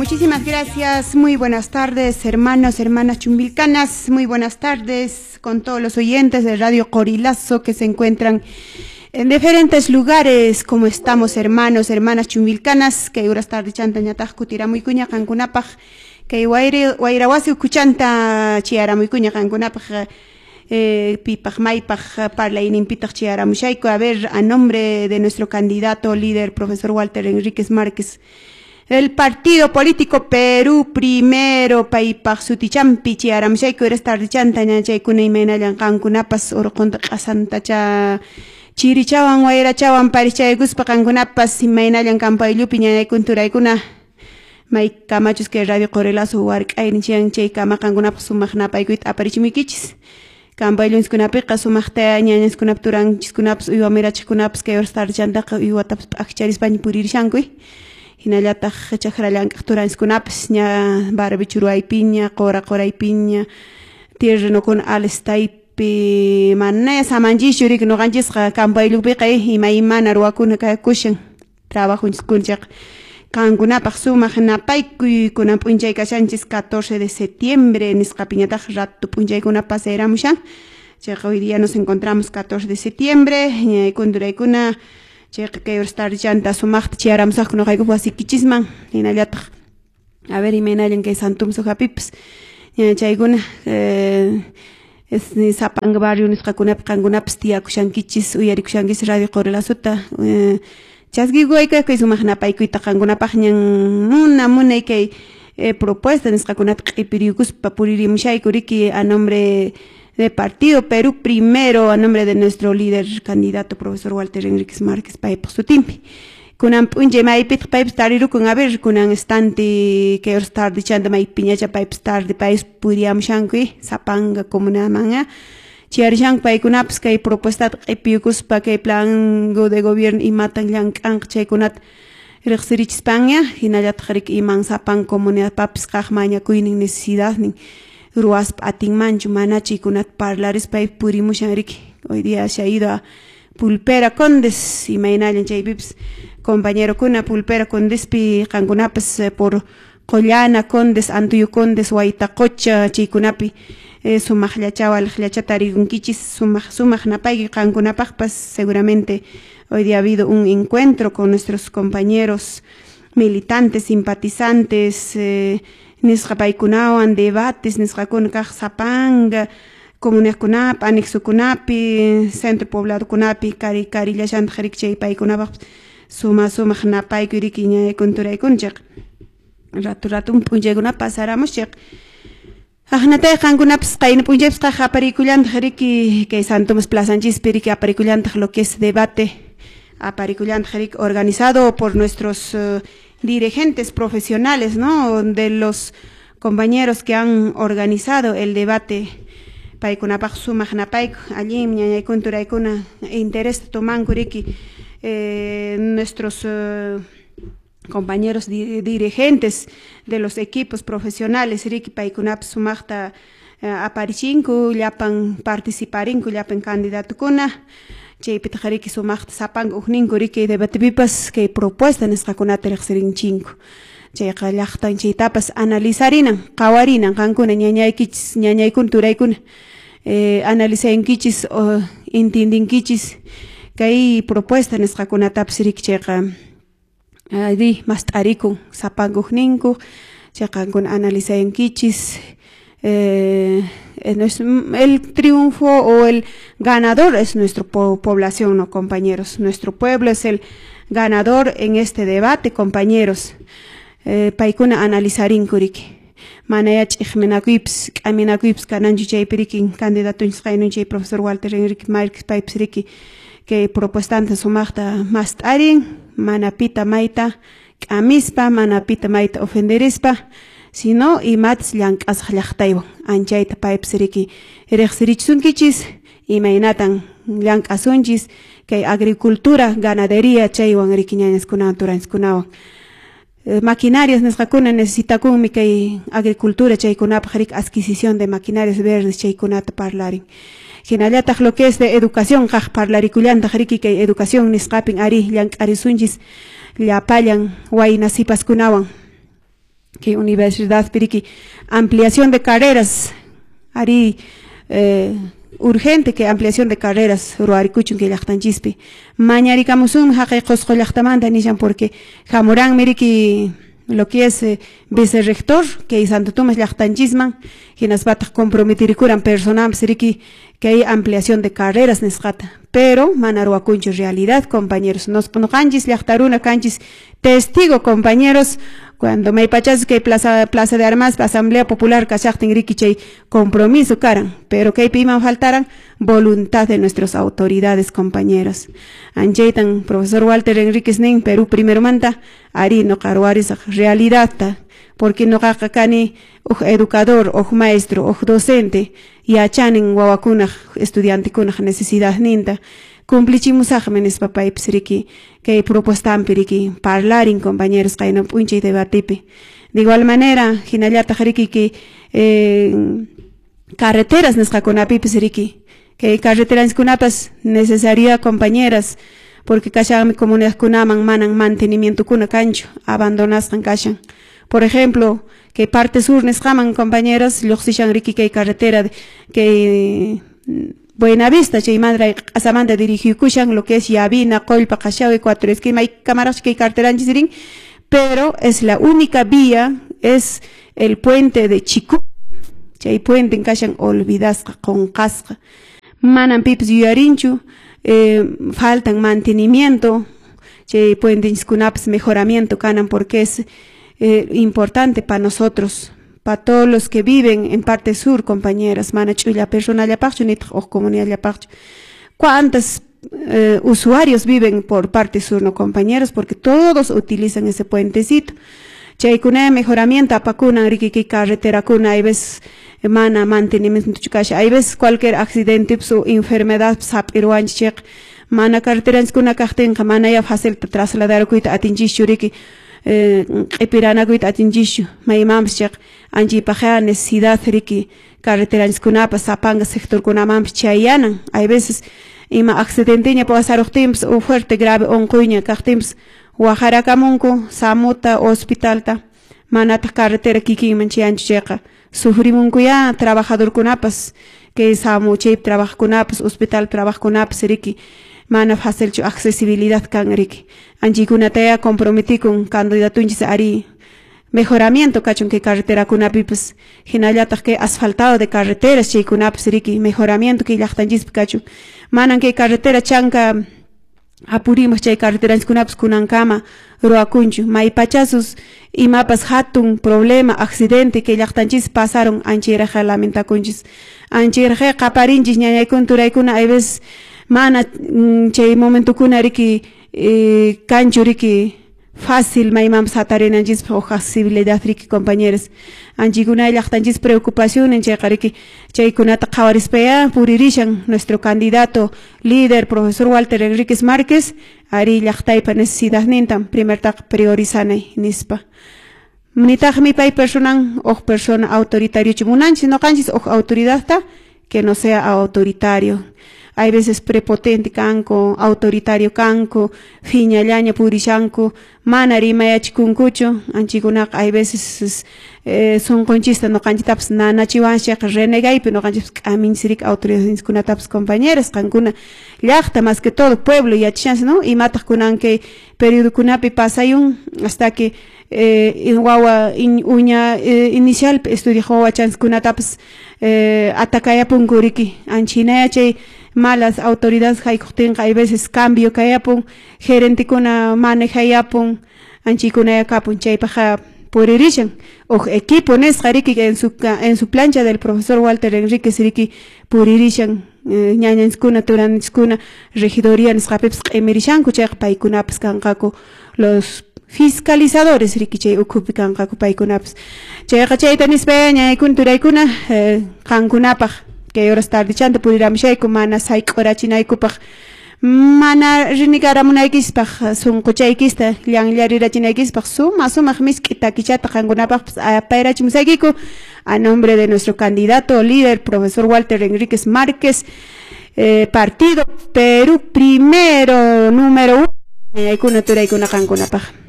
Muchísimas gracias, muy buenas tardes, hermanos, hermanas chumbilcanas, muy buenas tardes con todos los oyentes de Radio Qorilazo que se encuentran en diferentes lugares, como estamos, hermanos, hermanas chumbilcanas, kay uras tardichanta ñataq kutiramuykuña qankunapaq, kay wayrawasi ukuchanta chayaramuykuña qankunapaq, pipaq maypaq parlayninpitaq chayaramushayku. A ver, a nombre de nuestro candidato líder, profesor Walter Enríquez Márquez, el partido político Perú Primero, paypaq sutichampi chayaramushayku uras tardichanta ñachaykuna imaynallan qankunapas urqunta q'asantacha chirichawan wayrachawan parichaykuspa qankunapas imaynallan kampaylupi ñañaykun turaykuna may kamachus kay Radio Qorilazo wark'aynin chay kama qankunapaq sumaq napaykuyta aparichimuykichis. Kampayllunchiskunapiqa sumaqta ñañanchiskunap turanchiskunapas uywa mirachiqkunapas kay uras tardichantaqa uywatapas p'akcharispaña puririshanku. Hinallataq chakra llank'aq turanchiskunapas ña barbechu ruwaypiña, qura quraypiña, terrenokuna alistaypi manaya samanchischu riki ñuqanchisqa kampayllupiqa imaymana ruwakuna kakushan trabajunchiskuna chayqa qankunapaq sumaq napaykuy kunan p'unchay kashanchis 14 de septiembre nisqapiñataq rato p'unchaykuna pasayramushan chayqa hoy día nos encontramos 14 de septiembre ñaykun turaykuna chayqa kay uras tardichanta sumaqta chayaramusaqku ñuqaykup wasiykichisman hinallataq a ver imaynallan kay Santumso hapipas chaykuna Zapanga barrio nisqakunapi qankunapas tiyakushankichis uyarikushankichis Radio Qorilazuta chaskikuwayku kay sumaq napaykuyta qankunapaq ñan muna munay kay propuesta nisqakunata q'ipiriykuspa puririmushayku riki a nombre de Partido Perú Primero, a nombre de nuestro líder candidato profesor Walter Enríquez Márquez paypaq sutinpi. Kunan p'unchay maypitaq paypas tarirukun a ver kunan estante kay uras tardichanta maypiñacha paypas tarde paypas puriyamushanku Zapanga comunaman chayarishanku paykunapas kay propuestata q'ipiyukuspa kay plan de gobierno imatan llank'anqa chaykunata riqsirichispaña hinallataq riki iman sapan comunidadpapis kaq mañakuynin necesidadnin ruwaspa atinmanchu mana chaykunata parlarispa pay purimushan riki. Hoy día se ha ido a Pulpera Condes imaynallan chaypipas compañerokuna Pulpera Condespi qankunapas por Qollana Condes, Antuyo Condes, Waytaqocha chaykunapi sumaqllachawan aliqllacha tarikunkichis sumaq sumaq napayki qankunapaqpas. Seguramente hoy día ha habido un encuentro con nuestros compañeros militantes, simpatizantes, nisqa paykunawan debates nisqakuna kaq Zapanga comunidadkunapi, anexokunapi, centro pobladokunapi kari karillashantaq riki chay paykunapaq suma sumaq napaykuy riki ñañaykuna turaykuna chayqa rato rato p'unchaykuna pasaramos chayqa aqnatay qankunapas qayna p'unchaypas kaq aparikullantaq riki kay Santomas plazanchispi riki aparikullantaq lo que es debate aparikullantaq riki organizado por nuestros dirigentes profesionales, ¿no?, de los compañeros que han organizado el debate paykunapaq sumaq napayku allin ñañaykuna turaykuna interés tomanku riki nuestros compañeros dirigentes de los equipos profesionales riki paykunapas sumaqta aparichinku llapan participarinku llapan candidatukuna chaypitaq riki sumaqta sapanka ukninku riki debatepipas kay propuesta nisqakunata riqsirinchinku chayqa llaqtan chaytapas analizarinan qhawarinan qankuna ñañaykichis ñañaykuna turaykuna analizankichis o entendinkichis kay propuesta nisqakunatapas riki chayqa di mast'arikun sapanka ukninku chay qankuna analizankichis el triunfo o el ganador es nuestra población, ¿no, compañeros? Nuestro pueblo es el ganador en este debate, compañeros. Paykuna analizarinku riki manaya ch'iqminakuypis k'aminakuypis kananchu chaypi riki candidatunchis qaynun chay profesor Walter Enrique Márquez paypis riki kay propuestanta sumaqta mast'arin mana pita mayta k'amispa mana pita mayta ofenderispa sino imatas llank'asaq llaqtaywan anchayta paypis riki riqsirichisunkichis imaynatan llank'asunchis kay agricultura ganadería chaywan riki ñañaskunawan turanchiskunawan maquinarias nisqakuna necesitakunmi kay agricultura chaykunapaq riki adquisición de maquinarias verdes chaykunata parlarin hinallataq lo que es de educación kaq parlarikullantaq riki kay educación nisqapin ari llank'arisunchis llapallan wayna sipaskunawan. Kay universidad piriki ampliación de carreras ari urgente que ampliación de carreras ruwarikuchun kay llaqtanchispi mañarikamusun haqay Qusqu llaqtamanta nishan porque hamuranmi riki lo que es vicerrector kay Santo Tomás llaqtanchisman hinaspataq comprometirikuran personanpas riki kay ampliación de carreras nisqata pero mana ruwakunchu realidad compañeros noqanchis llaqta runa kanchis testigo compañeros cuando maypachas kay plaza de armas asamblea popular kashaqtin riki chay compromiso karan pero kaypi iman faltaran voluntad de nuestras autoridades compañeros anchaytan profesor Walter Enríquez nin Perú primero manta ari noqa ruwarisaq realidadta porque noqaqa kani huk educador huk maestro huk docente yachanin wawakunaq estudiantekunaq necesidadninta cumplichimusaqmi nispa paypis riki kay propuestampi riki parlarin compañeros qayna p'unchay debatepi de igual manera hinallataq riki kay carreteras nisqakunapipis riki kay carreteraskunapas necesaria compañeras porque kashanmi comunidadkunaman manan mantenimientokuna kanchu abandonasqan kashan por ejemplo kay parte sur nisqaman compañeras lluqsishan riki kay carretera kay Buenavista chaymanta q'asamanta dirigikushan lo que es Yavina, Qollpa, Qashawi, Cuatro Esquina may kamaraq kay carreteranchis rin pero es la única vía es el puente de Chicú chay puente kashan olvidasqa qunqasqa manan pipis yuyarinchu faltan mantenimiento chay puentenchiskunapas mejoramiento kanan porque es importante para nosotros para todos los que viven en parte sur, compañeras, mana ch'ulla personallapaqchu nitaq huk comunidadllapaqchu. ¿Cuántos usuarios viven por parte sur, no, compañeros? Porque todos utilizan ese puentecito. Chaykuna mejoramiento apakunan riki kay carreterakuna hay veces mana mantenimiento kasha hay veces cualquier accidente o enfermedad hap'iruwanchik mana carreteranchiskuna kaqtinqa mana ya fácil trasladarkuyta atinchischu riki q'ipiranakuyta atinchischu maymanpas chayqa anchaypaqqa necesidad riki carreteranchikunapas sapanka sectorkunamanpas chayanan hay veces ima accidenteña pasaruqtinpas o fuerte grave unquyña kaqtinpas waqarakamunku SAMUta hospitalta manataq carretera kikinman chayanchu chayqa sufrimunkuya trabajadorkunapas kay SAMU chaypi trabajaqkunapas hospital trabajaqkunapas riki mana facilchu accesibilidad kan riki anchaykunataya comprometikun candidatunchis ari mejoramiento kachun kay carreterakunapipas hinallataq kay asfaltado de carreteras chaykunapas riki mejoramiento kay llaqtanchispi kachun manan kay carretera chanka apurimos chay carreteranchikunapas kunankama ruwakunchu maypachasus imapas hatun problema accidente kay llaqtanchispi pasaron anchayraqqa lamentakunchis anchayraqqa qaparinchis ñañaykuna turaykuna hay veces mana chay momentokuna riki kanchu riki fácil maymanpas hatarinanchispaq huk accesibilidad riki compañeros anchaykuna llaqtanchis preocupación chayqa riki chaykunata qhawarispaya puririshan nuestro candidato líder profesor Walter Enríquez Márquez ari llaqtaypa necesidadnintan primertaqa priorizanay nispa nitaqmi pay personan huk persona autoritario munanchis noqanchis huk autoridadta que no sea autoritario hay veces prepotente kanku autoritario kanku phiñallaña purishanku mana rimayachikunkuchu anchaykunaqa hay veces sunqunchista noqanchitapas nanachiwanchik renegaypi noqanchis k'aminchis riki autoridadninchikkunatapas compañeras qankuna llaqta más que todo pueblo yachashanchis no imataq kunan kay periodokunapi pasayun hasta que wawa uña inicial estudiaq wawachanchikkunatapas atakayapunku riki anchinaya chay malas autoridades haykuqtinqa hay veces cambio kayapun gerentekuna manejayapun anchaykunaya kapun chaypaqqa puririshan huk equipo nisqa riki en su plancha del profesor Walter Enríquez riki puririshan ñañanchiskuna turanchiskuna regidoría nisqapipas q'imirishanku chayqa paykunapas kanqaku los fiscalizadores riki chay ukhupi kanqaku paykunapas chayqa chayta nispa ñañaykuna turaykuna qankunapaq kay horas tardechanta puriramushayku mana sayk'urachinaykupaq mana renegaramunaykispaq sunquchaykista llanllarirachinaykispaq suma sumaq misk'i takichata qankunapaqpas apayrachimusaykiku a nombre de nuestro candidato líder profesor Walter Enríquez Márquez partido Perú primero número 1 ñañaykuna turaykuna qankunapaq.